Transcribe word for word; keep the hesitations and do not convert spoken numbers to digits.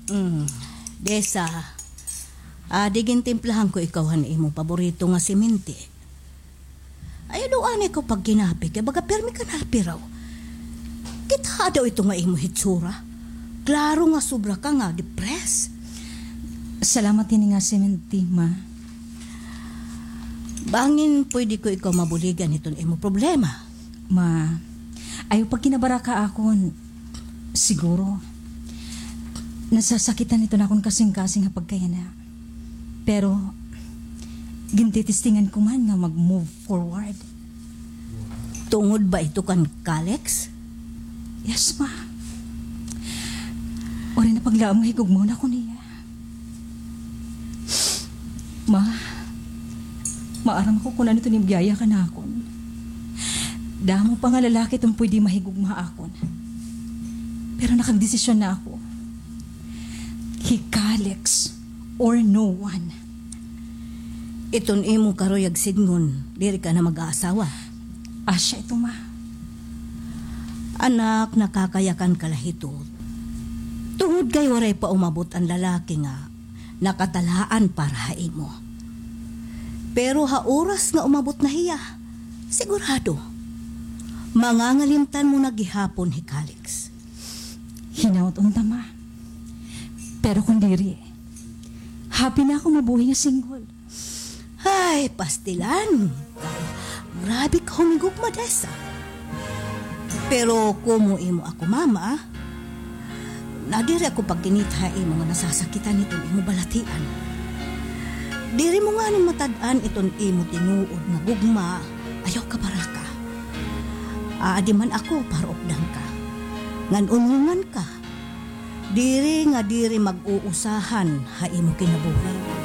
Mm. Desa, adi gintimplahan ko ikaw han imo paborito nga siminti. Ayaw daw anay ikaw pagkinapi, kay baga pirmi ka napiraw. Kita daw ito nga imo hitsura. Klaro nga sobra ka nga depressed. Salamat hini nga siminti, ma. Bangin pwede ko ikaw mabuligan hiton imo problema. Ma, ayaw pagkinabaraka akon. Siguro, nasasakitan ito na akon kasingkasing ha pagkayana. Pero, gintitistingan ko man nga mag-move forward. Tungod ba ito kan Kalex? Yes, ma. Waray na paglaom nga higugmaon ako niya. Ma, maaram ako kun ano ito ni biyaya ka na akon. Damo pa nga lalaki itong pwede mahigugma akon. Pero nakagdesisyon na ako. Hi Kalex or no one. Iton imong karuyag sidngon, diri ka na mag-aasawa. Asya ito, ma. Anak, nakakayakan ka la hito. Tungod kay waray pa umabot an lalaki nga nakatalaan para ha imo. Pero ha oras nga umabot na hiya, sigurado, mangangalimtan mo na gihapon hi Kalex. Hinaot unta, ma. Pero kun diri, happy na ako mabuhi nga single. Ay, pastilan. Grabe ka humigugma, Desa. Pero komo imo ako mama, nadiri ako pagkinita ha imo nga nasasakitan hiton imo balatian. Diri mo ngani matad-an iton imo tinuod nga gugma, ayaw ka baraka. Aadi man ako para updan ka. Ngan unhongan ka. Diri nga diri mag-uusahan ha imo kinabuhi.